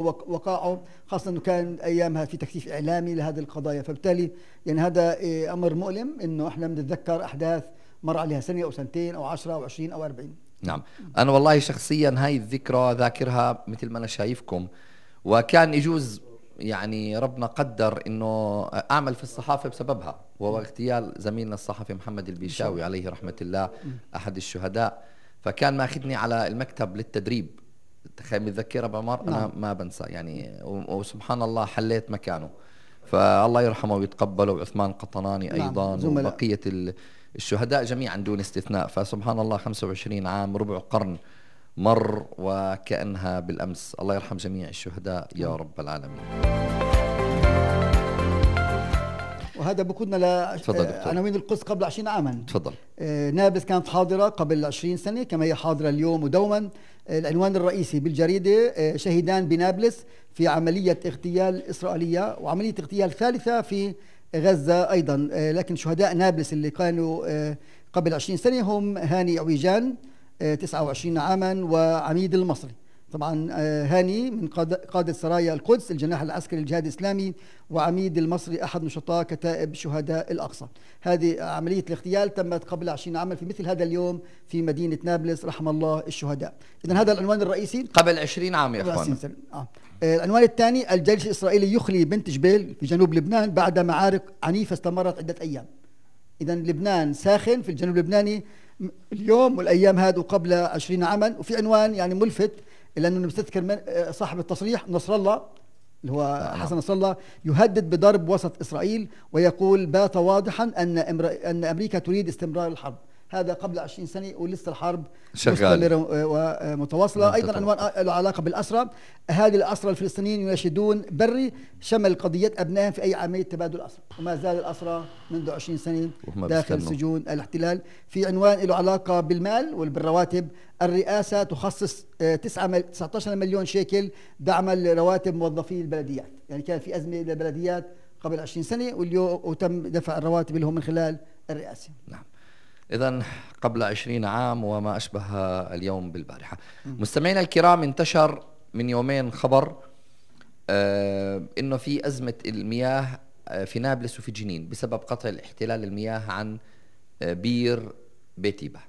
وقائعه، خاصة أنه كان أيامها في تكثيف إعلامي لهذه القضايا. فبالتالي يعني هذا أمر مؤلم أنه إحنا بنتذكر أحداث مر عليها سنة أو سنتين أو 10 أو 20 أو 40. نعم. أنا والله شخصيا هاي الذكرى ذاكرها مثل ما أنا شايفكم، وكان يجوز يعني ربنا قدر أنه أعمل في الصحافة بسببها، وهو اغتيال زميلنا الصحفي محمد البيشاوي عليه رحمة الله أحد الشهداء. فكان ماخذني على المكتب للتدريب، تخيل متذكرها بعمر. أنا ما بنسى يعني، وسبحان الله حليت مكانه، فالله يرحمه ويتقبله، وعثمان قطناني أيضا وبقية الشهداء جميعا دون استثناء. فسبحان الله 25 عام، ربع قرن مر وكأنها بالأمس. الله يرحم جميع الشهداء يا رب العالمين. وهذا بقودنا لعناوين القدس قبل 20 عاما. تفضل. نابلس كانت حاضرة قبل 20 سنة كما هي حاضرة اليوم ودوما. العنوان الرئيسي بالجريدة: شهيدان بنابلس في عملية اغتيال إسرائيلية، وعملية اغتيال ثالثة في غزة أيضا. لكن شهداء نابلس اللي كانوا قبل 20 سنة هم هاني عويجان 29 عاما وعميد المصري. طبعا هاني من قادة سرايا القدس الجناح العسكري للجهاد الإسلامي، وعميد المصري أحد نشطاء كتائب شهداء الأقصى. هذه عملية الاغتيال تمت قبل 20 عاما في مثل هذا اليوم في مدينة نابلس، رحم الله الشهداء. إذن هذا العنوان الرئيسي قبل 20 عام يا أخوان. العنوان الثاني: الجيش الإسرائيلي يخلي بنت جبيل في جنوب لبنان بعد معارك عنيفة استمرت عدة أيام. إذن لبنان ساخن في الجنوب اللبناني اليوم والأيام هذه قبل 20 عاما. وفي عنوان يعني ملفت، لأنه بستذكر صاحب التصريح نصر الله اللي هو حسن نصر الله يهدد بضرب وسط إسرائيل، ويقول: بات واضحا أن أمريكا تريد استمرار الحرب. هذا قبل 20 سنة ولسه الحرب مستمرة ومتواصلة. أيضا عنوان له علاقة بالأسرى: أهالي الأسرى الفلسطينيين يناشدون بري شمل قضية أبنائهم في أي عملية تبادل أسرى. وما زال الأسرى منذ 20 سنة داخل سجون الاحتلال. في عنوان له علاقة بالمال وبالرواتب: الرئاسة تخصص 19 مليون شيكل دعما لرواتب موظفي البلديات. يعني كان في أزمة للبلديات قبل 20 سنة واليوم وتم دفع الرواتب لهم من خلال الرئاسة. نعم. إذن قبل 20 عام وما أشبه اليوم بالبارحة. مستمعينا الكرام، انتشر من يومين خبر إنه في أزمة المياه في نابلس وفي جنين بسبب قطع الاحتلال المياه عن بير بيتيبة.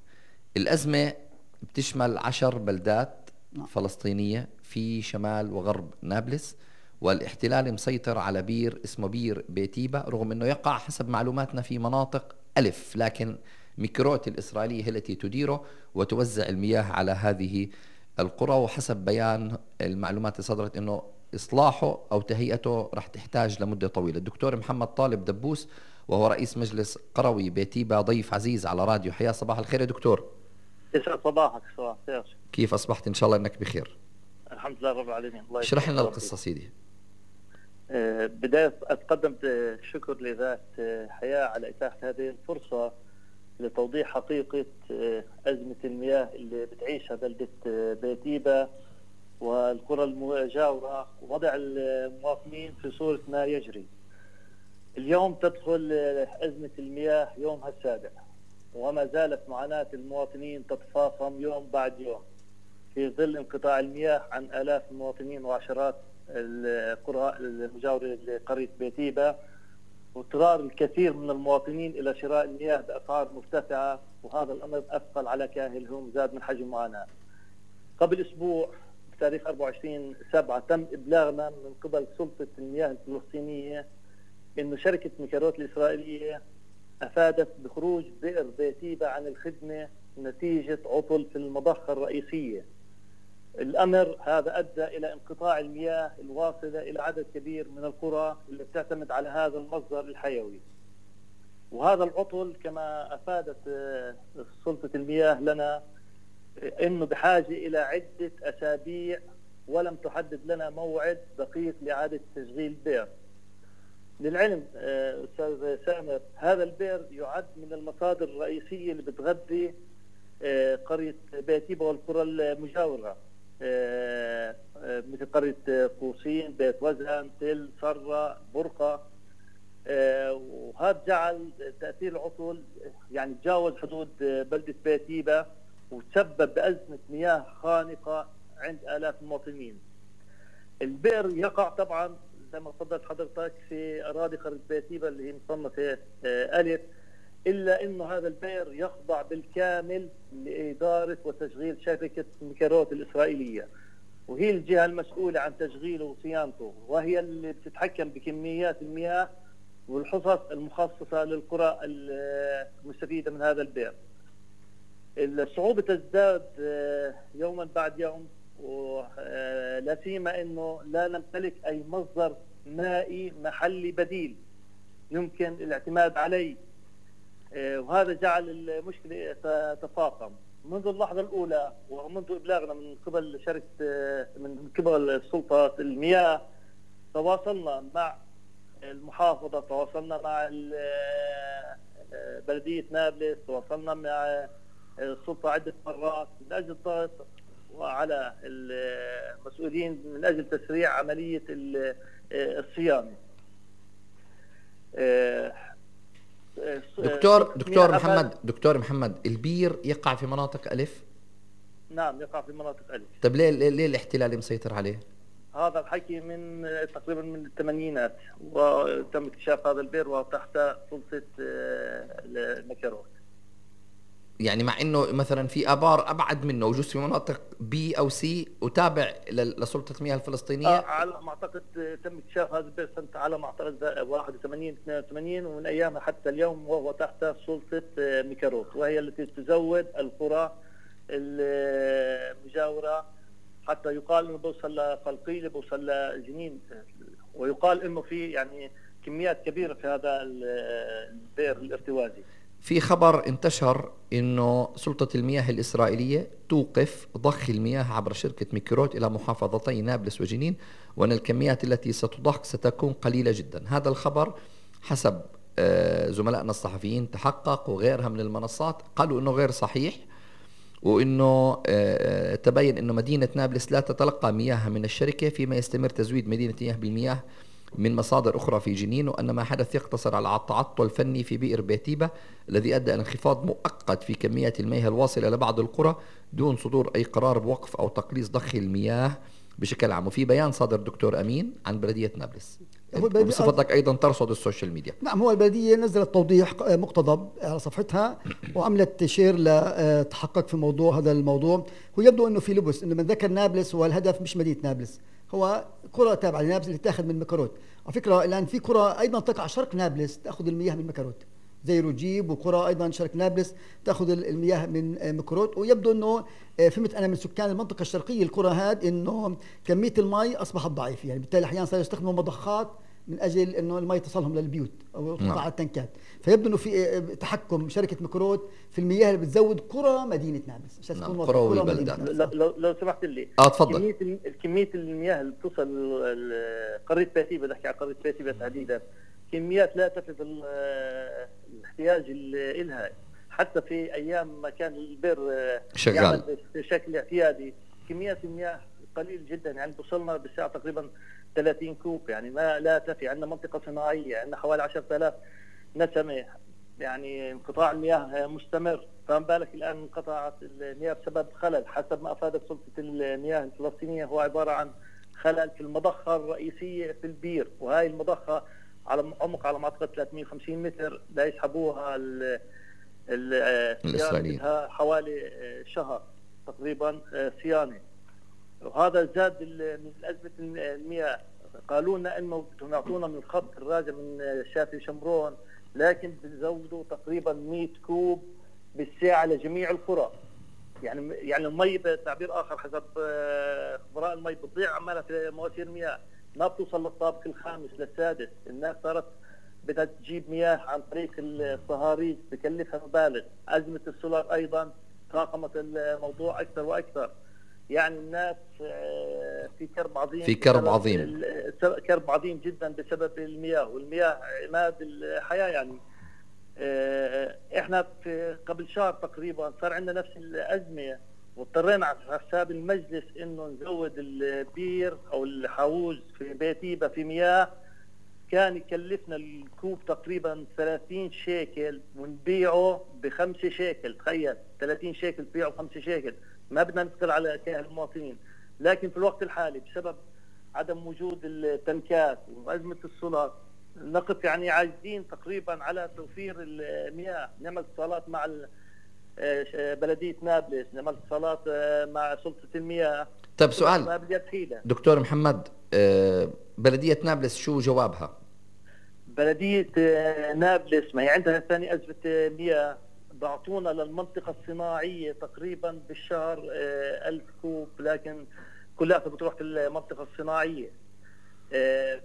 الأزمة بتشمل 10 بلدات فلسطينية في شمال وغرب نابلس، والاحتلال مسيطر على بير اسمه بير بيتيبة، رغم أنه يقع حسب معلوماتنا في مناطق ألف، لكن ميكروت الإسرائيلية هي التي تديره وتوزع المياه على هذه القرى. وحسب بيان المعلومات اللي صدرت أنه إصلاحه أو تهيئته رح تحتاج لمدة طويلة. الدكتور محمد طالب دبوس وهو رئيس مجلس قروي بيتيبة ضيف عزيز على راديو حياة. صباح الخير يا دكتور. يسعد صباحك. صباح الخير. كيف أصبحت؟ إن شاء الله أنك بخير. الحمد لله رب العالمين. الله اشرح لنا القصة سيدي. بداية أتقدم بالشكر لذات حياة على إتاحة هذه الفرصة لتوضيح حقيقة أزمة المياه اللي بتعيشها بلدة بيتيبة والقرى المجاورة، ووضع المواطنين في صورة ما يجري. اليوم تدخل أزمة المياه يومها السابع، وما زالت معاناة المواطنين تتفاقم يوم بعد يوم في ظل انقطاع المياه عن آلاف المواطنين وعشرات القرى المجاورة لقرية بيتيبة، واضطرار الكثير من المواطنين إلى شراء المياه بأسعار مرتفعة، وهذا الأمر أثقل على كاهلهم، زاد من حجم المعاناة. قبل أسبوع بتاريخ 24/7 تم إبلاغنا من قبل سلطة المياه الفلسطينية إنه شركة ميكروت الإسرائيلية أفادت بخروج بئر بيتيبة عن الخدمة نتيجة عطل في المضخة الرئيسية. الأمر هذا أدى إلى انقطاع المياه الواصلة إلى عدد كبير من القرى اللي بتعتمد على هذا المصدر الحيوي. وهذا العطل كما أفادت سلطة المياه لنا إنه بحاجة إلى عدة أسابيع، ولم تحدد لنا موعد دقيق لإعادة تشغيل البئر. للعلم أستاذ سامر، هذا البئر يعد من المصادر الرئيسية اللي بتغذي قرية بيتيبة والقرى المجاورة، مثل قرية قوسين، بيت وزن، تل، صرة، برقة. وهذا جعل تأثير العطل يعني تجاوز حدود بلدة البئر يقع طبعا زي ما تفضلت حضرتك في اراضي قرية بيتيبا اللي هي مصنفة الف، الا انه هذا البئر يخضع بالكامل لادارة وتشغيل شركة ميكاروت الاسرائيلية، وهي الجهة المسؤولة عن تشغيله وصيانته، وهي اللي بتتحكم بكميات المياه والحصص المخصصة للقرى المستفيدة من هذا البئر. الصعوبة تزداد يوما بعد يوم، ولا سيما انه لا نمتلك اي مصدر مائي محلي بديل يمكن الاعتماد عليه، وهذا جعل المشكلة تتفاقم. منذ اللحظة الأولى ومنذ إبلاغنا من قبل من قبل سلطة المياه تواصلنا مع المحافظة، تواصلنا مع بلدية نابلس، تواصلنا مع السلطة عدة مرات من أجل الضغط وعلى المسؤولين من أجل تسريع عملية الصيانة. دكتور محمد، البير يقع في مناطق ألف؟ نعم يقع في مناطق ألف. طب ليه الاحتلال مسيطر عليه؟ هذا الحكي من تقريبا من الثمانينات، وتم اكتشاف هذا البئر وتحت سلطة الميكاروت. يعني مع انه مثلا في ابار ابعد منه وجوز في مناطق بي او سي وتابع لسلطة المياه الفلسطينية. على ما اعتقد تم اكتشاف هذا البئر سنة على ما اعتقد 81 82، ومن ايامها حتى اليوم وهو تحت سلطة ميكاروت، وهي التي تزود القرى المجاورة، حتى يقال انه بوصل لقلقيلة، بوصل لجنين، ويقال انه في يعني كميات كبيرة في هذا البئر الارتوازي. في خبر انتشر انه سلطة المياه الإسرائيلية توقف ضخ المياه عبر شركة ميكاروت إلى محافظتي نابلس وجنين، وأن الكميات التي ستضخ ستكون قليلة جدا. هذا الخبر حسب زملائنا الصحفيين تحقق، وغيرها من المنصات قالوا انه غير صحيح، وانه تبين انه مدينة نابلس لا تتلقى مياه من الشركة، فيما يستمر تزويد مدينة نابلس بالمياه من مصادر أخرى في جنين، وأن ما حدث يقتصر على التعطل الفني في بئر بيتيبا الذي أدى إلى انخفاض مؤقت في كميات المياه الواصلة لبعض القرى دون صدور أي قرار بوقف أو تقليص ضخ المياه بشكل عام. وفي بيان صادر دكتور أمين عن بلدية نابلس بصفتك أيضا ترصد السوشيال ميديا. نعم، هو البلدية نزلت توضيح مقتضب على صفحتها وعملت شير لتحقق في موضوع هذا الموضوع. ويبدو أنه في لبس، أنه من ذكر نابلس هو الهدف مش مدينة نابلس، هو قرى تابعة لنابلس اللي تاخذ من ميكاروت. على فكرة الآن في قرى أيضا تقع شرق نابلس تأخذ المياه من ميكاروت زي روجيب، وقرى أيضا شرق نابلس تأخذ المياه من ميكاروت. ويبدو أنه فهمت أنا من سكان المنطقة الشرقية القرى هاد أنه كمية المي أصبحت ضعيفة، يعني بالتالي أحيانا صاروا يستخدموا مضخات من أجل أنه المي تصلهم للبيوت أو تطلع على التنكات. فيبدو أنه في تحكم شركة ميكاروت في المياه اللي بتزود قرى مدينة نابلس. قرى والبلدات. لو سمحت لي تفضل. كمية المياه اللي بتصل قرية بيتيبا، بحكي عن قرية بيتيبا تحديدا، كميات لا تفي الاحتياج إلها. حتى في أيام ما كان البئر شغال بشكل اعتيادي كميات المياه قليل جدا، يعني بوصلنا بالساعة تقريبا 30 كوب، يعني ما لا تفي. عندنا منطقة صناعية، عندنا حوالي 10,000 نسمة، يعني انقطاع المياه مستمر. فما بالك الآن انقطعت المياه بسبب خلل حسب ما أفادت سلطة المياه الفلسطينية، هو عبارة عن خلل في المضخة الرئيسية في البير، وهاي المضخة على عمق على ما أعتقد 350 متر لا يسحبوها الإسرائيليين، حوالي شهر تقريبا صيانة. وهذا زاد من أزمة المياه. قالوا لنا انه بدهم يعطونا من الخط الراجع من شافي شمرون، لكن بيزودوا تقريبا 100 كوب بالساعة لجميع القرى. يعني المي بتعبير اخر حسب خبراء المي بتضيع عمالها في مواسير المياه، ما بتوصل للطابق الخامس للسادس. الناس صارت بدها تجيب مياه عن طريق الصهاريج بكلفها مبالغ. أزمة السولار ايضا تفاقمت الموضوع اكثر واكثر. يعني الناس في كرب عظيم جدا بسبب المياه، والمياه عماد الحياة. يعني احنا في قبل شهر تقريبا صار عندنا نفس الأزمة، واضطرينا على حساب المجلس انه نزود البير او الحوز في بيتيبا في مياه. كان يكلفنا الكوب تقريبا 30 شيكل ونبيعه ب5 شيكل. تخيل 30 شيكل تبيعه ب5 شيكل. ما بدنا نثقل على كاهل المواطنين، لكن في الوقت الحالي بسبب عدم وجود التنكات وازمه السولار، نقف يعني عاجزين تقريبا على توفير المياه. نعمل اتصالات مع بلديه نابلس، نعمل اتصالات مع سلطه المياه. طيب سؤال دكتور محمد، بلديه نابلس شو جوابها؟ بلديه نابلس ما هي عندها ثاني ازمه مياه، بعطونا للمنطقه الصناعيه تقريبا بالشهر 1000 كوب، لكن كلها بتروح في المنطقه الصناعيه.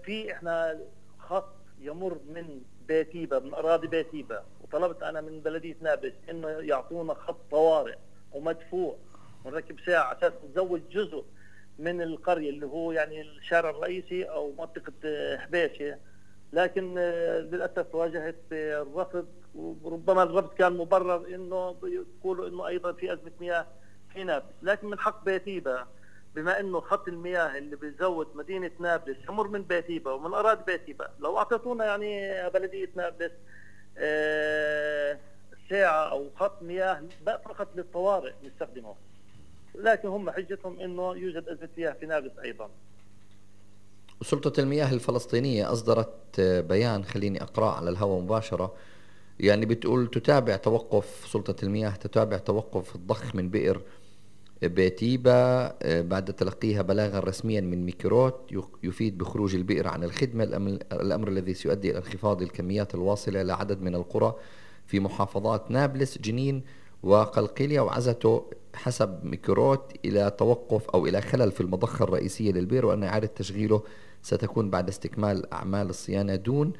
في احنا خط يمر من بيتيبا، من اراضي بيتيبا، وطلبت انا من بلديه نابلس انه يعطونا خط طوارئ ومدفوع ونركب ساعه على اساس نزود جزء من القريه اللي هو يعني الشارع الرئيسي او منطقه حبيشه، لكن للاسف واجهت الرفض، وربما الرفض كان مبرر انه يقولوا انه ايضا في ازمه مياه في نابلس، لكن من حق بيتيبا بما انه خط المياه اللي بيزود مدينه نابلس يمر من بيتيبا ومن اراضي بيتيبا، لو اعطيتونا يعني بلديه نابلس ساعه او خط مياه فقط للطوارئ نستخدمه، لكن هم حجتهم انه يوجد ازمه مياه في نابلس ايضا. سلطة المياه الفلسطينية أصدرت بيان، خليني أقرأ على الهواء مباشرة، يعني بتقول تتابع توقف سلطة المياه تتابع توقف الضخ من بئر بيتيبا بعد تلقيها بلاغا رسميا من ميكروت يفيد بخروج البئر عن الخدمة، الأمر الذي سيؤدي إلى انخفاض الكميات الواصلة إلى عدد من القرى في محافظات نابلس جنين وقلقيلية، وعزته حسب ميكروت إلى توقف أو إلى خلل في المضخة الرئيسية للبئر، وأن إعادة تشغيله ستكون بعد استكمال أعمال الصيانة دون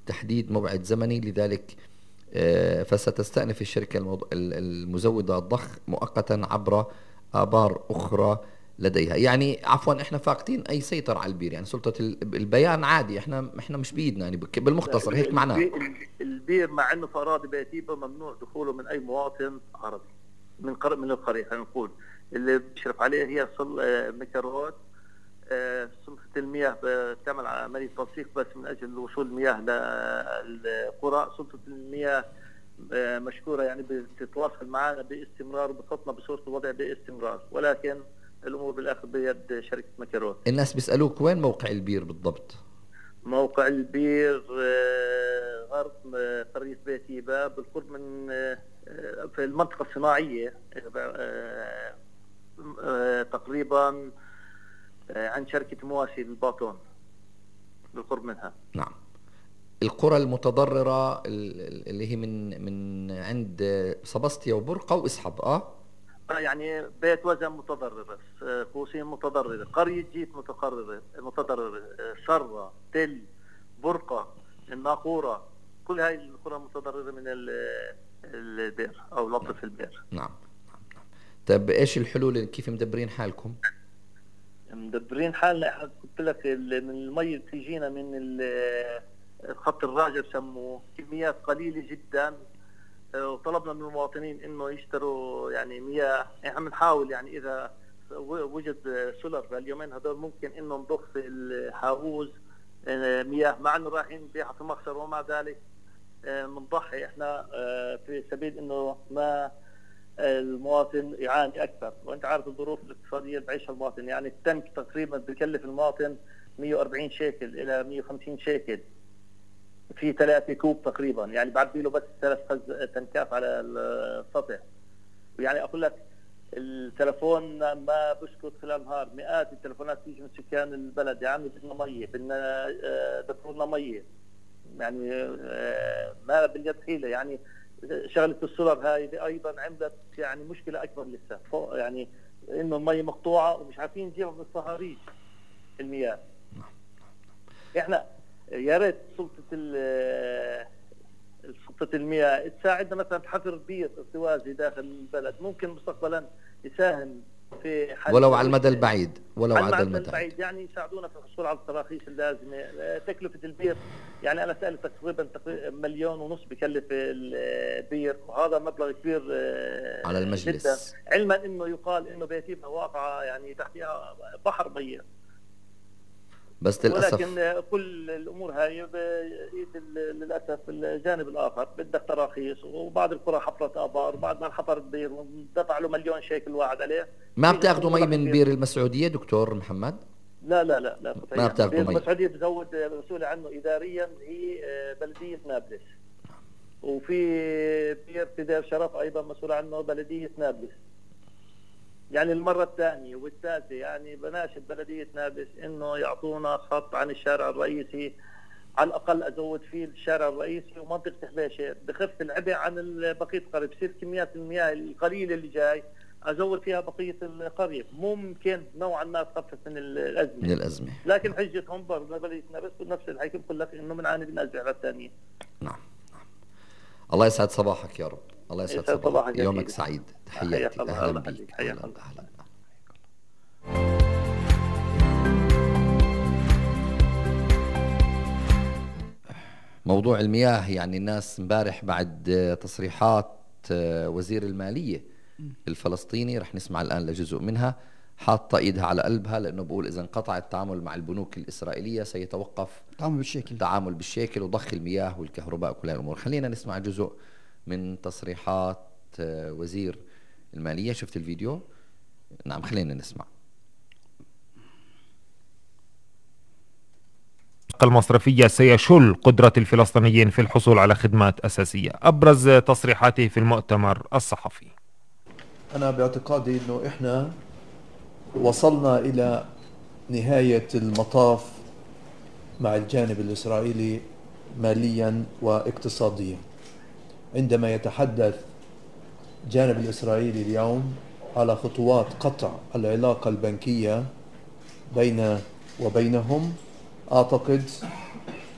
تحديد موعد زمني، لذلك فستستأنف الشركة المزودة الضخ مؤقتا عبر آبار أخرى لديها. يعني عفوا احنا فاقدين أي سيطرة على البير، يعني سلطة البيان عادي، احنا مش بإيدنا، يعني بالمختصر هيك معناه. البير مع انه في اراضي بيتيبا ممنوع دخوله من اي مواطن عربي من القرية، خلينا نقول اللي بيشرف عليه هي ميكروت. سلطة المياه بتعمل عملية تنسيق بس من أجل وصول المياه للقرى. سلطة المياه مشكورة يعني بتتواصل معنا باستمرار وبتحطنا بصورة الوضع باستمرار، ولكن الأمور بالآخر بيد شركة ميكروت. الناس بيسألوك وين موقع البير بالضبط؟ موقع البير غرب قرية بيتيبا بالقرب من في المنطقة الصناعية تقريبا عن شركة مواسي الباطون بالقرب منها. نعم. القرى المتضررة اللي هي من عند صبستيا وبرقة وإسحب يعني بيت وزن متضررة، قوسين متضررة، قرية جيت متضررة، شرة، تل، برقة، الناقورة، كل هاي القرى متضررة من البئر أو لطف البئر. نعم. طيب إيش الحلول؟ كيف مدبرين حالكم؟ مدبرين حالنا، قلت لك من المي تيجينا من خط الراجع بسموه كميات قليلة جدا، وطلبنا من المواطنين انه يشتروا يعني مياه. احنا بنحاول يعني اذا وجد سولر اليومين هذول ممكن انه نضخ في الحاوز مياه، مع انه رايحين نبيعها في مخزر، ومع ذلك بنضحي احنا في سبيل انه ما المواطن يعاني اكثر. وانت عارف الظروف الاقتصاديه اللي بعيشها المواطن، يعني التنك تقريبا بكلف المواطن 140 شيكل الى 150 شيكل في 3 كوب تقريبا، يعني بعبي له بس 3 تنكات على السطح. ويعني اقول لك التلفون ما بسكت خلال النهار، مئات التلفونات تيجي من سكان البلد، يا عمي بدنا ميه، بدنا دفعوا لنا ميه، يعني ما باليد حيله. يعني شغله السولر هاي ايضا عملت يعني مشكله اكبر لسه، يعني انه المي مقطوعه ومش عارفين نجيبها من الصهاريج المياه. احنا يا ريت سلطه المياه تساعدنا مثلا تحفر بير ارتوازي داخل البلد، ممكن مستقبلا يساهم في حل ولو على المدى البعيد، ولو على المدى البعيد يعني يساعدونا في الحصول على التراخيص اللازمه. تكلفه البير يعني انا سألت تقريبا 1.5 مليون بكلف البير، وهذا مبلغ كبير على المجلس جدا، علما انه يقال انه بيتيبا واقعه يعني تحتها بحر ميه، بس للأسف ولكن كل الأمور هاي بإيد للأسف الجانب الآخر. بدك تراخيص، وبعض القرى حفرت آبار، وبعد ما حفر البير ودفع له 1,000,000 شيكل واحد عليه. ما بتاخذوا مي من بير المسعودية دكتور محمد؟ لا ما بتاخذوا مي. المسعودية بتزود مسؤولة عنه إداريا هي بلدية نابلس، وفي بير في دير شرف أيضا مسؤول عنه بلدية نابلس. يعني المرة الثانية والثالثة يعني بناشد بلدية نابلس إنه يعطونا خط عن الشارع الرئيسي، على الأقل أزود فيه الشارع الرئيسي ومنطقة حبيشة، بخف العبء عن بقية القرية، بصير كميات المياه القليلة اللي جاي أزود فيها بقية القرية، ممكن نوعا ما تخفف من الأزمة. لكن حجتهم برضه بلدية نابلس نفس الحكي بقول لك إنه بنعاني من أزمة الثانية. نعم. الله يسعد صباحك يا رب. الله يسعد صباحك. يومك سعيد. تحياتي. أهلا بك. أهلا. موضوع المياه، يعني الناس امبارح بعد تصريحات وزير المالية الفلسطيني، رح نسمع الآن لجزء منها، حاطة إيدها على قلبها، لأنه بقول إذا انقطع التعامل مع البنوك الإسرائيلية سيتوقف التعامل بالشيكل وضخ المياه والكهرباء وكل الأمور. خلينا نسمع جزء من تصريحات وزير المالية. شفت الفيديو؟ نعم، خلينا نسمع. المصرفية سيشل قدرة الفلسطينيين في الحصول على خدمات أساسية. أبرز تصريحاته في المؤتمر الصحفي: أنا باعتقادي أنه إحنا وصلنا إلى نهاية المطاف مع الجانب الإسرائيلي ماليا واقتصاديا. عندما يتحدث الجانب الإسرائيلي اليوم على خطوات قطع العلاقة البنكية بين وبينهم، أعتقد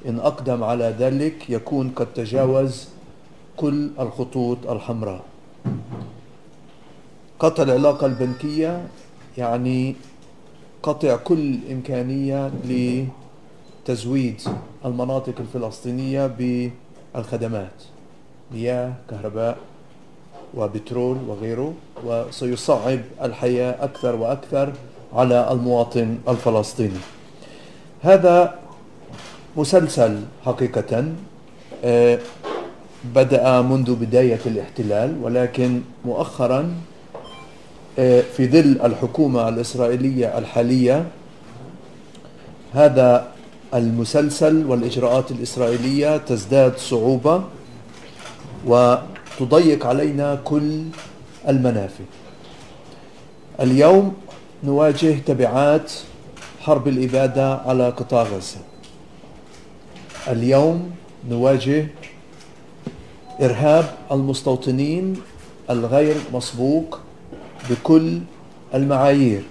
إن أقدم على ذلك يكون قد تجاوز كل الخطوط الحمراء. قطع العلاقة البنكية يعني قطع كل إمكانية لتزويد المناطق الفلسطينية بالخدمات، مياه، كهرباء وبترول وغيره، وسيصعب الحياة أكثر وأكثر على المواطن الفلسطيني. هذا مسلسل حقيقة بدأ منذ بداية الاحتلال، ولكن مؤخرا في ظل الحكومة الإسرائيلية الحالية هذا المسلسل والإجراءات الإسرائيلية تزداد صعوبة وتضيق علينا كل المنافذ. اليوم نواجه تبعات حرب الإبادة على قطاع غزة. اليوم نواجه إرهاب المستوطنين الغير مسبوق بكل المعايير.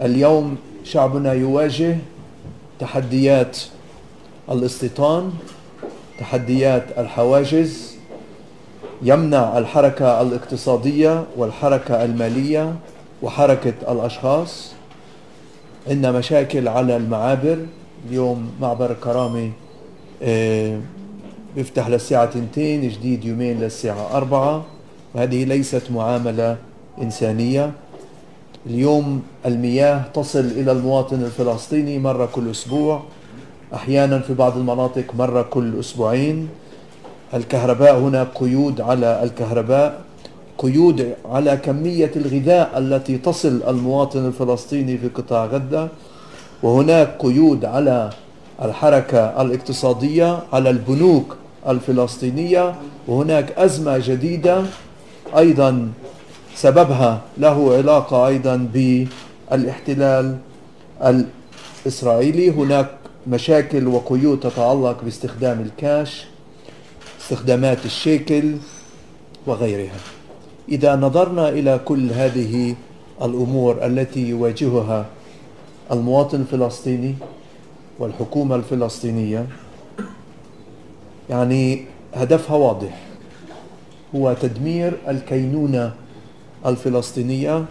اليوم شعبنا يواجه تحديات الاستيطان، تحديات الحواجز، يمنع الحركة الاقتصادية والحركة المالية وحركة الأشخاص. عندنا مشاكل على المعابر. اليوم معبر الكرامة بيفتح للساعة 2، جديد يومين للساعة 4، وهذه ليست معاملة إنسانية. اليوم المياه تصل إلى المواطن الفلسطيني مرة كل أسبوع، أحيانا في بعض المناطق مرة كل أسبوعين. الكهرباء هناك قيود على الكهرباء، قيود على كمية الغذاء التي تصل المواطن الفلسطيني في قطاع غزة، وهناك قيود على الحركة الاقتصادية، على البنوك الفلسطينية، وهناك أزمة جديدة أيضا سببها له علاقة أيضا بالاحتلال الإسرائيلي. هناك مشاكل وقيود تتعلق باستخدام الكاش، استخدامات الشيكل وغيرها. إذا نظرنا إلى كل هذه الأمور التي يواجهها المواطن الفلسطيني والحكومة الفلسطينية، يعني هدفها واضح، هو تدمير الكينونة الفلسطينية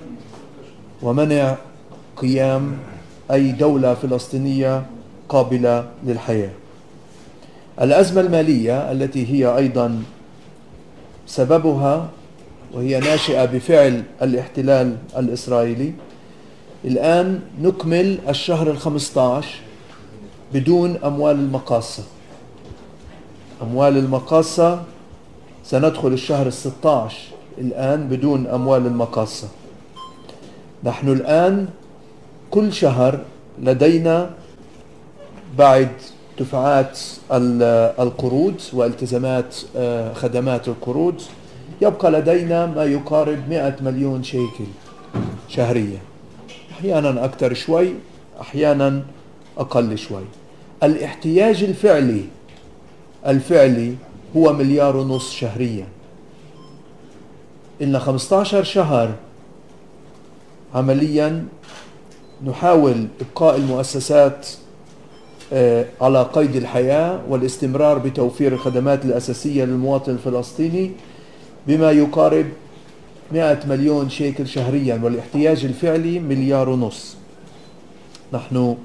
ومنع قيام أي دولة فلسطينية قابلة للحياة. الأزمة المالية التي هي أيضا سببها وهي ناشئة بفعل الاحتلال الإسرائيلي. الآن نكمل الشهر 15 بدون أموال المقاصة. أموال المقاصة سندخل الشهر 16 الآن بدون أموال المقاصة. نحن الآن كل شهر لدينا بعد دفعات القروض والتزامات خدمات القروض يبقى لدينا ما يقارب 100 مليون شيكل شهريا، أحيانا أكثر شوي أحيانا أقل شوي. الاحتياج الفعلي هو 1.5 مليار شهريا. إلنا 15 شهر عمليا نحاول إبقاء المؤسسات على قيد الحياة والاستمرار بتوفير الخدمات الأساسية للمواطن الفلسطيني بما يقارب 100 مليون شيكل شهريا، والاحتياج الفعلي 1.5 مليار. نحن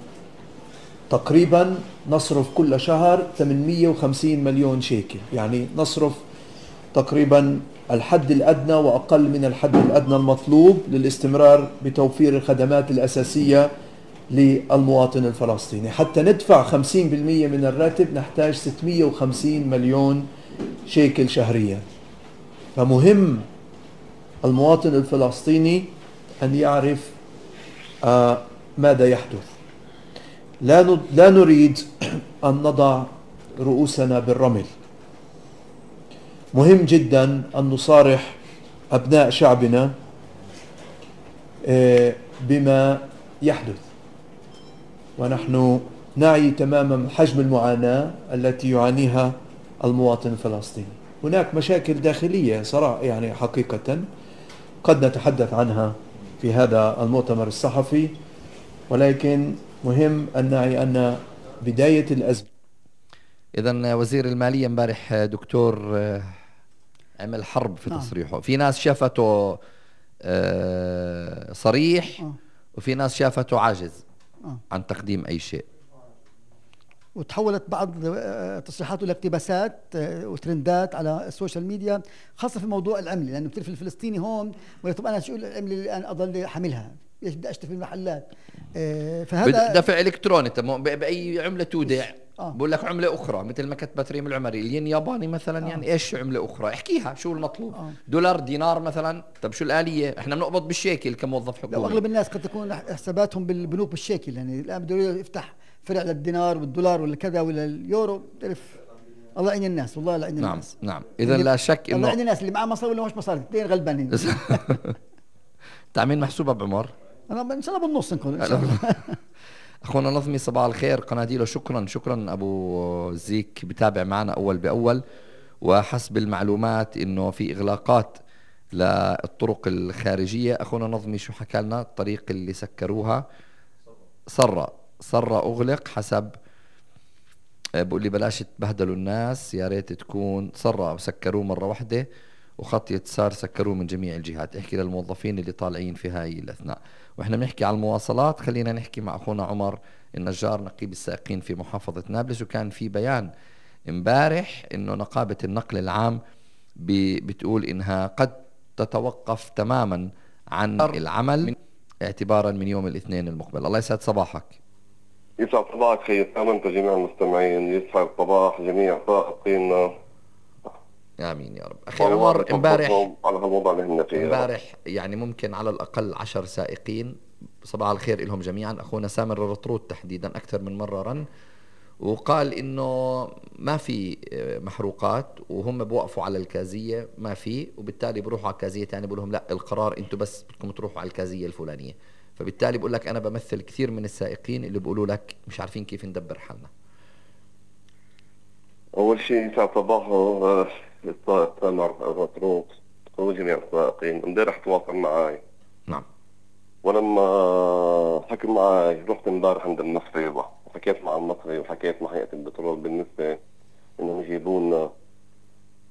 تقريبا نصرف كل شهر 850 مليون شيكل، يعني نصرف تقريبا الحد الأدنى وأقل من الحد الأدنى المطلوب للاستمرار بتوفير الخدمات الأساسية للمواطن الفلسطيني. حتى ندفع 50% من الراتب نحتاج 650 مليون شيكل شهريا. فمهم المواطن الفلسطيني أن يعرف ماذا يحدث. لا نريد أن نضع رؤوسنا بالرمل. مهم جدا أن نصارح أبناء شعبنا بما يحدث، ونحن نعي تماما حجم المعاناة التي يعانيها المواطن الفلسطيني. هناك مشاكل داخلية صراحة، يعني حقيقة قد نتحدث عنها في هذا المؤتمر الصحفي، ولكن مهم أن نعي أن بداية الأزمة. إذن وزير المالية امبارح دكتور عمل حرب في تصريحه. في ناس شافته صريح وفي ناس شافته عاجز عن تقديم أي شيء، وتحولت بعض تصريحاته لاقتباسات وترندات على السوشيال ميديا، خاصة في موضوع العملة، لأنه بتعرف الفلسطيني هون طب أنا شو العملة اللي أنا أضل حاملها؟ ليش بدي أشتري في المحلات؟ فهذا دفع إلكتروني بأي عملة تودع. بقول لك عملة أخرى، مثل ما كتبت ريم العمري الين ياباني مثلا. يعني إيش عملة أخرى؟ احكيها شو المطلوب. دولار، دينار مثلا. طب شو الآلية؟ إحنا بنقبض بالشيكل كموظف حكومي. أغلب الناس قد تكون حساباتهم بالبنوك بالشيكل، يعني الآن بده يفتح فرع للدينار والدولار ولا كذا ولا اليورو. تعرف الله يعين الناس، والله لا يعين الناس. نعم. إذا لا شك إنه الله يعين الناس اللي معاه مصاري ولا مش مصاري، اثنين غلبانين. تعمين محسوبة بعمر؟ أنا إن شاء الله بالنص نكون إن شاء الله. أخونا نظمي صباح الخير قناديله. شكرا أبو زيك، بتابع معنا أول بأول. وحسب المعلومات إنه في إغلاقات للطرق الخارجية. أخونا نظمي شو حكى لنا؟ الطريق اللي سكروها صرة أغلق، حسب بقول لي بلاش تبهدلوا الناس، يا ريت تكون صرة سكروه مرة واحدة، وخط يتسار سكروه من جميع الجهات. احكي للموظفين اللي طالعين في هاي الأثناء. واحنا بنحكي على المواصلات، خلينا نحكي مع أخونا عمر النجار نقيب السائقين في محافظة نابلس. وكان في بيان امبارح إنه نقابة النقل العام بتقول إنها قد تتوقف تماما عن العمل اعتبارا من يوم الاثنين المقبل. الله يسعد صباحك. يسعد صباحك خير سامنت جميع المستمعين، يسعد صباح جميع سائقينا. آمين يا رب. أخي عمر، امبارح على هالوضع اللي هن فيه امبارح يعني ممكن على الأقل 10 سائقين صباح الخير لهم جميعا. أخونا سامر الرطرود تحديدا أكثر من مرة رن وقال إنه ما في محروقات، وهم بوقفوا على الكازية ما في، وبالتالي بروحوا على كازية تاني بقول لهم لا القرار أنتوا بس بدكم تروحوا على الكازية الفلانية. فبالتالي بقول لك أنا بمثل كثير من السائقين اللي بيقولوا لك مش عارفين كيف ندبر حالنا. أول شيء يسعد صباحه السائق سامر الرطرود وجميع السائقين. امبارح تواصل معي. نعم. ولما حكي معي رحت امبارح عند المصري وحكيت مع المصري وحكيت مع هيئة البترول بالنسبة انهم يجيبوا لنا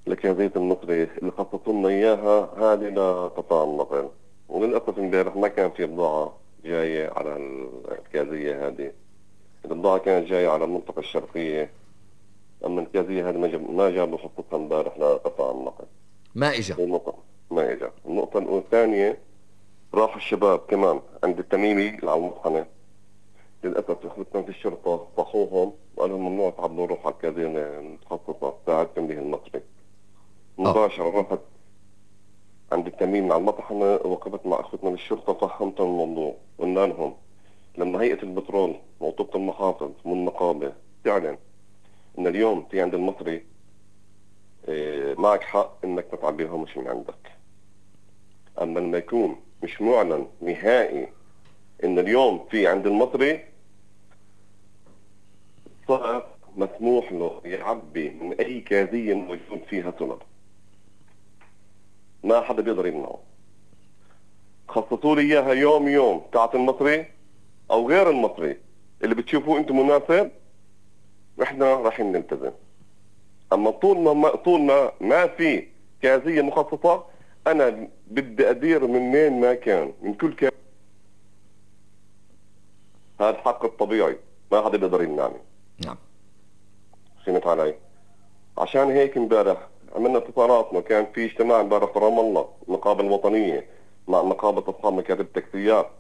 الكازية المصري اللي خصصوا لنا اياها هذه لقطاع النقل. وللأسف امبارح ما كان في بضاعة جاية على الكازية هذه. البضاعة كانت جاية على المنطقة الشرقية، اما الكازية هذه ما جابوا خصوصا امبارح لقطاع النقل. ما اجا. ما اجا. النقطة الثانية، راح الشباب كمان عند التميمي اللي على المطحنة. للأسف اخوتنا في الشرطة صحوهم وقالوا ممنوع تعبوا روح على الكازية المتخصصة ساعدتم به المصري. مباشرة رحت عند التميمي على المطحنة، وقفت مع اخوتنا بالشرطة فهمتهم الموضوع، قلنا لهم لما هيئة البترول موثوقة المحافظ والنقابة تعلن ان اليوم في عند المصري معك حق انك ما تعبيهمش من عندك. اما لما يكون مش معلن نهائي ان اليوم في عند المصري، صار مسموح له يعبي من اي كازية موجود فيها سولر، ما حدا بيقدر يمنعه. خصصوا لي اياها يوم تاعت المصري او غير المصري اللي بتشوفوه انتم مناسب، احنا رايحين نلتزم. اما طول ما في كازية مخصصة، انا بدي ادير من وين ما كان، من كل كازية. هذا الحق الطبيعي، ما حدا بيقدر يمنعني. نعم. فهمت علي؟ عشان هيك امبارح عملنا اتصالات، وكان في اجتماع امبارح في رام الله، النقابة الوطنية مع نقابة اصحاب مكاتب التاكسيات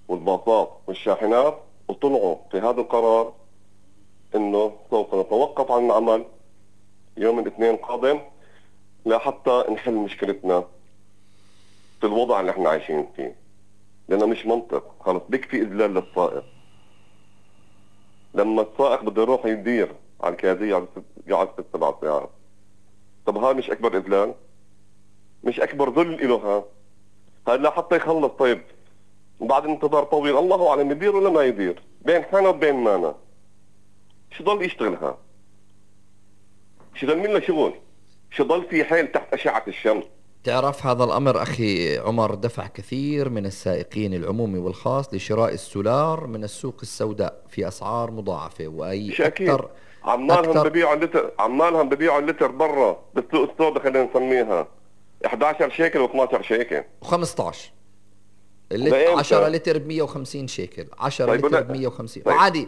والباصات والشاحنات، وطلعوا في هذا القرار انه سوف نتوقف عن العمل يوم الاثنين القادم لحتى نحل مشكلتنا في الوضع اللي احنا عايشين فيه. لانه مش منطق، خلص بكفي اذلال للسائق. لما السائق بده يروح يدير على الكازية قاعد 6-7 ساعات، طب هذا مش اكبر اذلال؟ مش اكبر ذل له؟ هذا لحتى يخلص. طيب بعد انتظار طويل الله اعلم يدير ولا ما يدير، بين حنا وبين مانا شو ضل يشتغلها؟ شو ضل منه شغل؟ شو ضل في حيل تحت اشعة الشمس؟ تعرف هذا الأمر أخي عمر دفع كثير من السائقين العمومي والخاص لشراء السولار من السوق السوداء في أسعار مضاعفة، وأي أكثر عمالهم ببيعوا اللتر برا بالسوق السوداء، خلينا نسميها 11 شيكل و12 شيكل و15 10 لتر ب 150 شيكل، 10 لتر ب 150. وعادي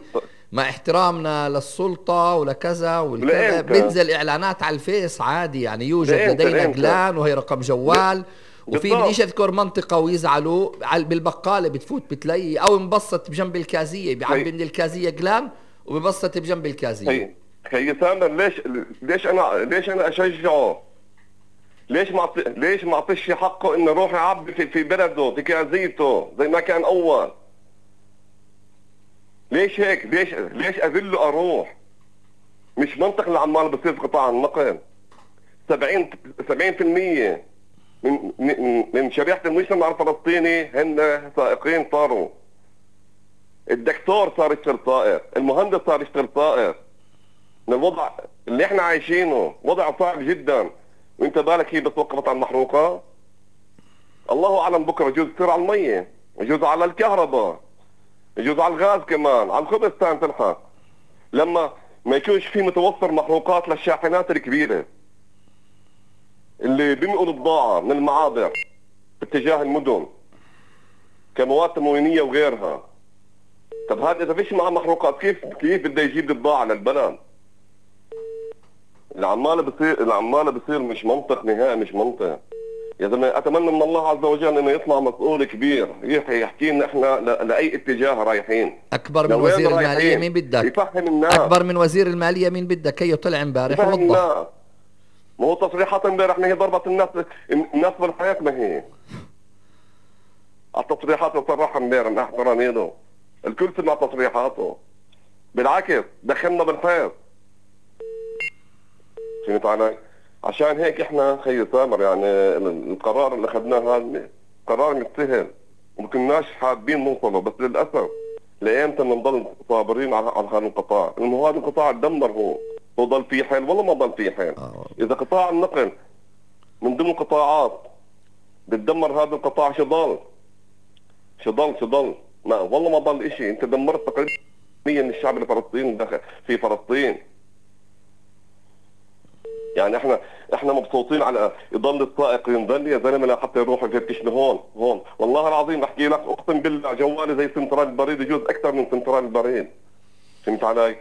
مع احترامنا للسلطة ولكذا والكذا بينزل اعلانات على الفيس عادي، يعني يوجد لدينا جلان وهي رقم جوال، وفي بديش اذكر منطقة ويزعلوا بالبقالة بتفوت بتلاقي او مبسط بجنب الكازية، بيعبي من الكازية جلان وبيبسط بجنب الكازية. هي سامر ليش انا اشجعه؟ ليش ما اعطيش حقه انه يروح يعبي في بلده في كازيته زي ما كان اول؟ ليش هيك؟ ليش اذله اروح؟ مش منطق اللي عمال بصير في قطاع النقل. 70% من شريحة المجتمع الفلسطيني هن سائقين صاروا. الدكتور صار يشتغل سائق، المهندس صار يشتغل سائق. من الوضع اللي احنا عايشينه وضع صعب جدا، وانت بالك هي بتوقفت على المحروقة؟ الله اعلم بكره يجوز تصير على المية، يجوز على الكهرباء، يجوز على الغاز كمان، على الخبز تلحق. لما ما يكونش في متوفر محروقات للشاحنات الكبيرة اللي بينقلوا بضاعة من المعابر باتجاه المدن كمواد تموينية وغيرها. طب هذا اذا فيش معه محروقات كيف بده يجيب البضاعة للبلد؟ العمالة بصير مش منطق نهائي، مش منطق. يا زلمه اتمنى من الله عز وجل انه يطلع مسؤول كبير يحكي لنا احنا لاي اتجاه رايحين. اكبر من وزير الماليه مين بدك؟ يفهم الناس. اكبر من وزير الماليه مين بدك؟ هي طلع امبارح ووضح. ما هو تصريحات امبارح ما هي ضربت الناس بالحياه، ما هي التصريحات اللي صرحها امبارح مع احترامي له الكل سمع تصريحاته، بالعكس دخلنا بالحيط. فهمت علي؟ عشان هيك احنا خي سامر يعني القرار اللي اخذناه هذا قرار مش سهل وما كناش حابين نوصله، بس للاسف لايمتى بنضل صابرين على هذا القطاع؟ لانه هذا القطاع تدمر. هو ضل فيه حيل والله ما ضل فيه حيل. اذا قطاع النقل من ضمن القطاعات بتدمر هذا القطاع شو ضل؟ ما والله ما ضل شيء. انت دمرت تقريبا من الشعب الفلسطيني داخل في فلسطين. يعني احنا مبسوطين على يضل السائق ينضل يا زلمه لحتى يروح يفتشني هون. والله العظيم بحكي لك اقسم بالله جوالي زي سنترال البريد، يجوز اكثر من سنترال البريد. فهمت علي؟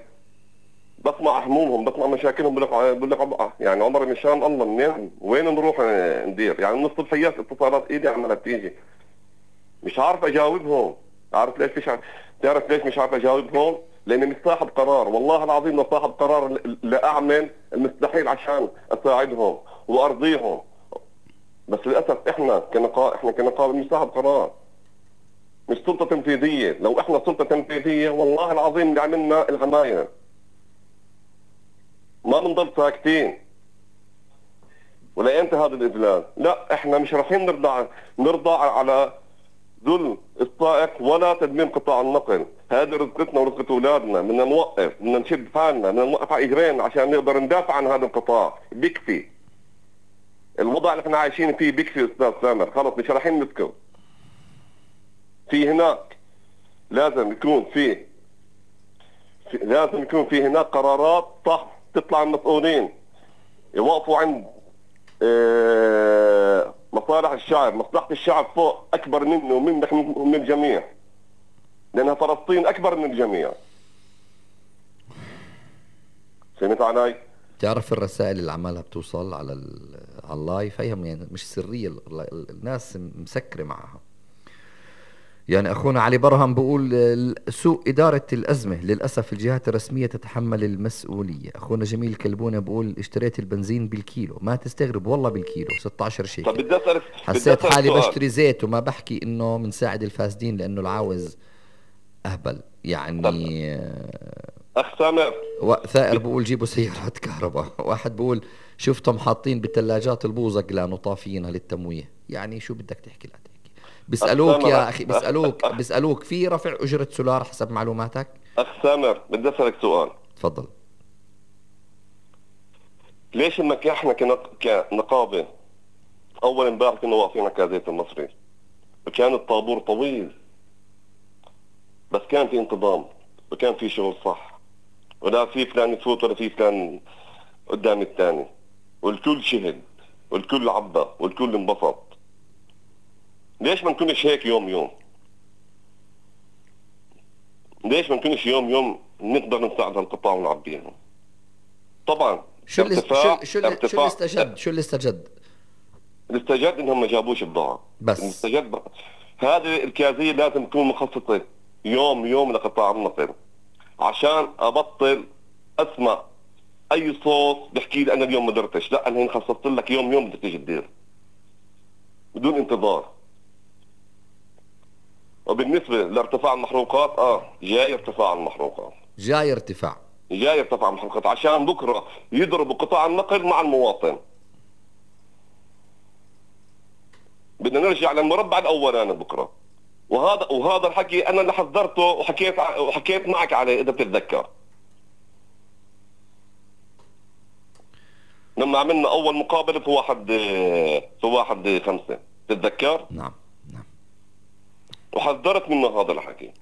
بسمع همومهم، بسمع مشاكلهم، بقول لك يعني عمري مشان الله منين وين نروح ندير؟ يعني من الصبحيات اتصالات ايدي عماله تيجي مش عارف اجاوبهم. تعرف ليش مش عارف اجاوبهم؟ لاني مش صاحب قرار. والله العظيم لو صاحب قرار لاعمل المستحيل عشان اساعدهم وارضيهم، بس للاسف احنا كنقابه مش صاحب قرار. مش سلطة تنفيذية. لو احنا سلطة تنفيذية والله العظيم اللي عملنا العماير ما بنضل ساكتين. ولا انت هذا الاذلال؟ لا، احنا مش رايحين نرضى على ذل السائق ولا تدمير قطاع النقل. هذه رزقتنا ورزقة اولادنا، بدنا نوقف، بدنا نشد حالنا، بدنا نوقف على اجرين عشان نقدر ندافع عن هذا القطاع. بيكفي الوضع اللي احنا عايشين فيه، بيكفي استاذ سامر، خلص مش رايحين نسكت. في هناك لازم يكون في هناك قرارات صح تطلع المسؤولين يوقفوا عند مصالح الشعب. مصلحة الشعب فوق أكبر منه ومنك ومن الجميع، لأنها فلسطين أكبر من الجميع. فهمت علي؟ تعرف الرسائل اللي عمالها بتوصل على اللايف هي يعني مش سرية، الناس مسكرة معها. يعني أخونا علي برهم بقول سوء إدارة الأزمة، للأسف الجهات الرسمية تتحمل المسؤولية. أخونا جميل كلبونة بقول اشتريت البنزين بالكيلو، ما تستغرب والله بالكيلو 16 شيكل. طب بدي أسألك، حسيت حالي بشتري زيت وما بحكي إنه منساعد الفاسدين لأنه العاوز أهبل يعني. أخ سامر ثائر بقول جيبوا سيارات كهرباء. واحد بقول شفتهم حاطين بالثلاجات البوزق لأنه طافينها للتمويه. يعني شو بدك تحكي لا تحكي. بيسألوك يا أخي، بيسألوك في رفع أجرة سولار حسب معلوماتك؟ أخ سامر بدي أسألك سؤال. تفضل. ليش انك احنا كنقابة اول امبارح كنا واقفين على كازيت المصري وكان الطابور طويل، بس كان في انتظام وكان في شغل صح، ولا في فلان يفوت ولا في فلان قدام الثاني، والكل شهد والكل عبى والكل انبسط. ليش ما نكونش هيك يوم يوم؟ ليش ما نكونش يوم يوم نقدر نساعد هالقطاع ونعبيهم؟ طبعا شو اللي استجد؟ اللي استجد انهم ما جابوش بضاعة بس. هذه الكازية لازم تكون مخصصة يوم يوم لقطاع النقل، عشان ابطل اسمع اي صوت بحكي لي انا اليوم ما درتش. لا، انا خصصت لك يوم يوم بدك تيجي تدير بدون انتظار. وبالنسبة لارتفاع المحروقات، جاي ارتفاع المحروقات، جاي ارتفاع المحروقات، عشان بكرة يضربوا قطاع النقل مع المواطن. بدنا نرجع للمربع الاولاني بكرة. وهذا الحكي انا اللي حذرته وحكيت معك عليه اذا بتتذكر، لما عملنا اول مقابلة في 1/5 تتذكر؟ نعم. وحذرت منه هذا الحكي.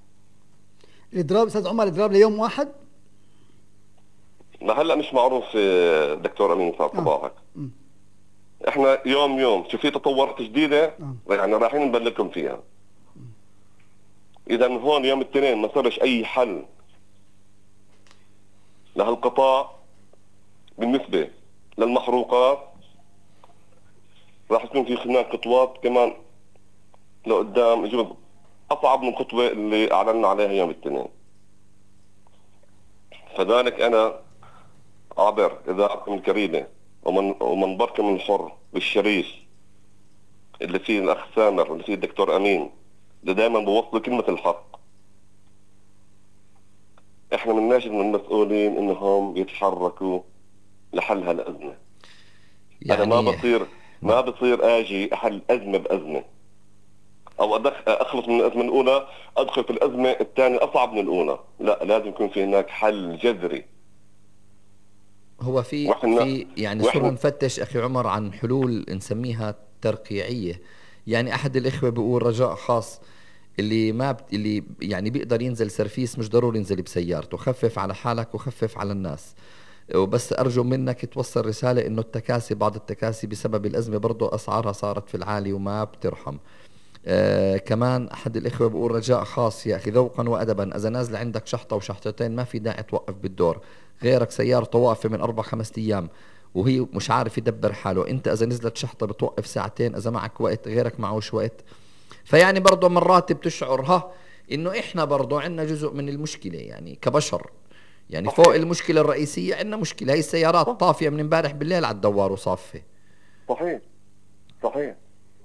الاضراب استاذ عمر، الاضراب ليوم واحد؟ هلا مش معروف دكتور امين صار صباحك. احنا يوم شو في تطورات جديده يعني رايحين نبلغكم فيها. اذا هون يوم الاثنين ما صارش اي حل لهالقطاع بالنسبه للمحروقات، راح يكون في هناك خطوات كمان لقدام يجوز اصعب من الخطوه اللي اعلنا عليها يوم الاثنين. فذلك انا عبر اذاعتكم الكريمه ومنبركم الحر بالشريف اللي فيه الاخ سامر واللي فيه الدكتور امين اللي دائما بوصلوا كلمه الحق. احنا بنناشد من المسؤولين انهم يتحركوا لحل هالازمه. يعني انا ما بصير اجي احل ازمه بازمه، او اخلص من الازمه الاولى ادخل في الازمه الثانيه اصعب من الاولى. لا، لازم يكون في هناك حل جذري. هو في يعني صرنا نفتش اخي عمر عن حلول نسميها ترقيعيه. يعني احد الاخوه بيقول رجاء خاص، اللي يعني بيقدر ينزل سرفيس مش ضروري ينزل بسيارته، خفف على حالك وخفف على الناس. وبس ارجو منك توصل رساله انه بعض التكاسي بسبب الازمه برضه اسعارها صارت في العالي وما بترحم. كمان احد الاخوه بيقول رجاء خاص يا اخي ذوقا وادبا، اذا نازل عندك شحطه وشحطتين ما في داعي توقف بالدور، غيرك سيارته واقفه من 4-5 ايام وهي مش عارف يدبر حاله، انت اذا نزلت شحطه بتوقف ساعتين، اذا معك وقت غيرك معوش وقت. فيعني برضه مرات بتشعر انه احنا برضه عندنا جزء من المشكله يعني كبشر. يعني فوق المشكله الرئيسيه عندنا مشكله، هي السيارات طافيه من امبارح بالليل على الدوار وصافه. صحيح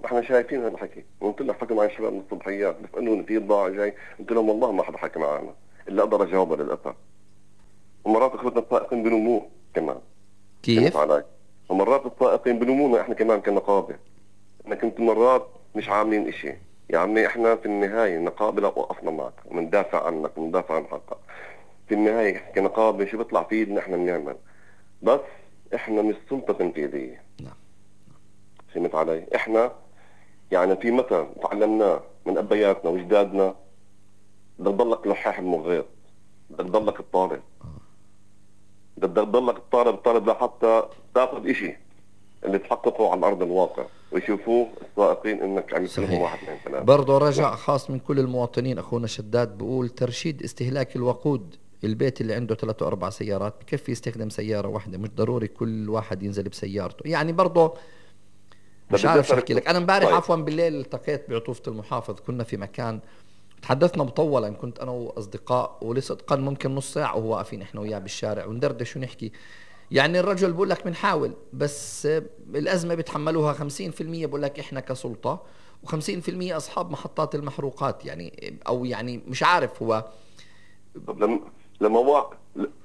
احنا شايفين هذا الحكي، وقلت لك حكي مع الشباب من الصبحيات بيسالوني في بضاعه جاي، قلت لهم والله ما حدا حكى معنا الا اقدر اجاوبها للاسف. ومرات اخوتنا السائقين بلوموه كمان. كيف؟ ومرات السائقين بلومونا احنا كمان كنقابه انك انتم مرات مش عاملين اشي. يا عمي احنا في النهايه نقابه لا وقفنا معك ومندافع عنك ومندافع عن حقك. في النهايه كنقابه شو بيطلع في ايدنا احنا بنعمل، بس احنا مش سلطه تنفيذيه. نعم. فهمت علي؟ احنا يعني في مثل تعلمناه من ابياتنا واجدادنا، بدك تضلك لحاح بمغيط، بدك تضلك الطالب، بدك تضلك الطالب لحتى تاخذ اشي اللي تحققه على ارض الواقع ويشوفوه السائقين انك عم تسلمهم 1 2 3. برضه رجع خاص من كل المواطنين. اخونا شداد بقول ترشيد استهلاك الوقود. البيت اللي عنده 3 و4 سيارات بكفي يستخدم سيارة واحدة، مش ضروري كل واحد ينزل بسيارته. يعني برضه مش عارف شو احكي لك. انا امبارح عفوا بالليل التقيت بعطوفة المحافظ، كنا في مكان تحدثنا مطولا، كنت انا واصدقاء ولصدقا ممكن نص ساعة وهو واقفين احنا وياه بالشارع وندردش ونحكي. يعني الرجل بقول لك بنحاول، بس الأزمة بتحملوها 50% بقول لك إحنا كسلطة، و50% أصحاب محطات المحروقات. يعني أو يعني مش عارف هو. طب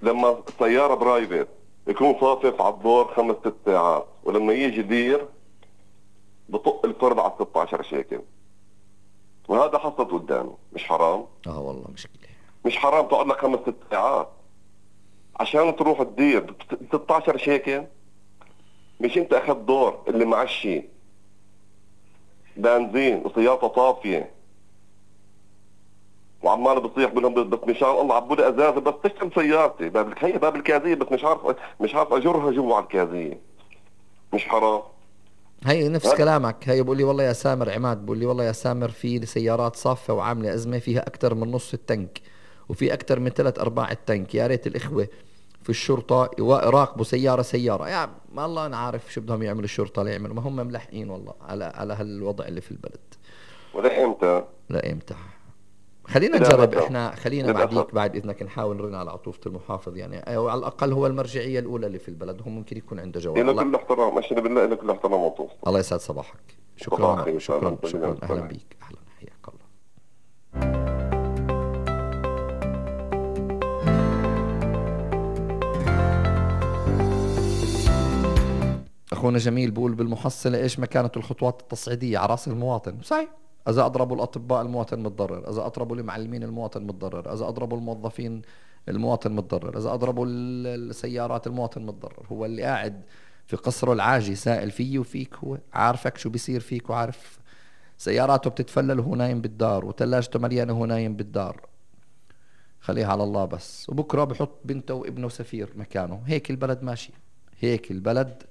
لما سيارة برايفت يكون صافف على الدور 5-6 ساعات، ولما يجي دير بطق الفرد على 16 شيكل، وهذا حصلت قدامي. مش حرام؟ والله مشكلة. مش حرام تقعد لك 5-6 ساعات عشان تروح تدير 16 شيكل؟ مش انت اخذت دور اللي معشي بنزين وسيارته طافيه وعمال بصيح بلهم بس مش عارف الله عبوا لي ازازه بس تشتغل سيارتي هي باب الكازيه، بس مش عارف اجرها جوا على الكازيه. مش حرام؟ هي نفس كلامك. هي بقول لي والله يا سامر، عماد بقول لي والله يا سامر في سيارات صافة وعاملة أزمة فيها أكثر من نص التنك وفي أكثر من 3/4 التنك. يا ريت الإخوة في الشرطة يراقبوا سيارة. يعني ما الله أنا عارف شو بدهم يعملوا الشرطة ليعملوا، ما هم ملحقين والله على هالوضع اللي في البلد. ولا إمتى؟ خلينا نجرب احنا، خلينا بعد إذنك نحاول نرن على عطوفة المحافظ، يعني أو على الأقل هو المرجعية الأولى اللي في البلد، هم ممكن يكون عنده جواب. إلى كل احترام، أشهد بالله إلى كل احترام عطوفة. الله يسعد صباحك. شكرا. أهلا بيك. أهلا، حياك الله. أخونا جميل بقول بالمحصلة إيش مكانة الخطوات التصعيدية على رأس المواطن؟ صحيح. إذا أضربوا الأطباء المواطن متضرر، إذا أضربوا المعلمين المواطن متضرر، إذا أضربوا الموظفين المواطن متضرر، إذا أضربوا السيارات المواطن متضرر. هو اللي قاعد في قصره العاجي سائل فيه وفيك، هو عارفك شو بيصير فيك وعارف سياراته بتتفلل وهو نايم بالدار وثلاجته مليانة وهو نايم بالدار. خليها على الله بس، وبكرة بحط بنته وابنه سفير مكانه. هيك البلد ماشي، هيك البلد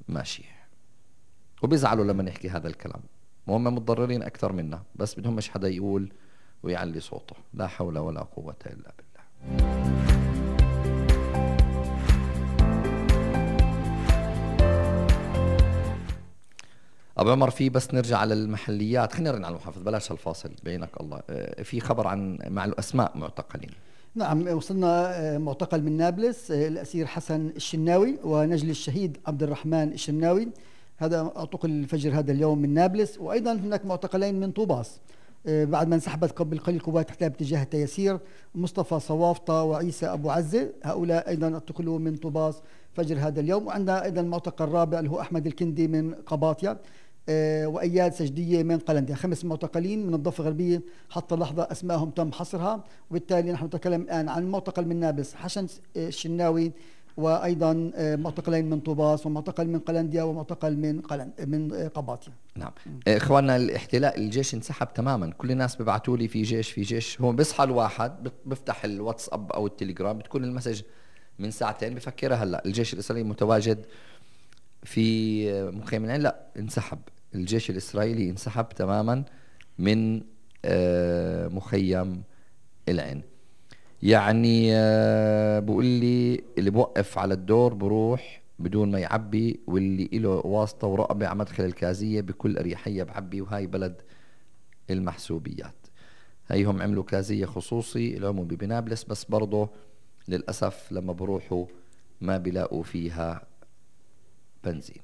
ماشي. وبيزعلوا لما نحكي هذا الكلام، وهم متضررين أكثر منا، بس بدهم مش حدا يقول ويعلي صوته. لا حول ولا قوة إلا بالله. أبو عمر في بس نرجع على المحليات، خلينا نرجع على المحافظ بلاش هالفاصل بينك الله. في خبر عن مع الأسماء معتقلين. نعم، وصلنا معتقل من نابلس الأسير حسن الشناوي ونجل الشهيد عبد الرحمن الشناوي، هذا اعتقل الفجر هذا اليوم من نابلس. وأيضا هناك معتقلين من طوباس بعد ما انسحبت قبل قليل قوات الاحتلال باتجاه التيسير، مصطفى صوافطة وعيسى أبو عزة، هؤلاء أيضا اعتقلوا من طوباس فجر هذا اليوم. وعندنا أيضا المعتقل الرابع اللي هو أحمد الكندي من قباطيا وأياد سجدية من قلنديا. 5 معتقلين من الضفة الغربية حتى اللحظة أسمائهم تم حصرها. وبالتالي نحن نتكلم الآن عن معتقل من نابلس حسن الشناوي، وأيضا معتقلين من طوباس، ومعتقل من قلنديا، ومعتقل من قباطيا. نعم إخواننا، الاحتلال الجيش انسحب تماما. كل الناس بيبعتوا لي في جيش. هو بيصحى الواحد بيفتح الواتساب أو التليجرام بتكون المسج من 2 ساعتين بفكرها هلا الجيش الإسرائيلي متواجد في مخيم العين. لا، انسحب الجيش الإسرائيلي، انسحب تماما من مخيم العين. يعني بقول لي اللي بوقف على الدور بروح بدون ما يعبي، واللي له واسطة ورقبة على مدخل الكازية بكل أريحية بعبي. وهاي بلد المحسوبيات. هيهم عملوا كازية خصوصي العمومي بنابلس، بس برضه للأسف لما بروحوا ما بيلاقوا فيها بنزين.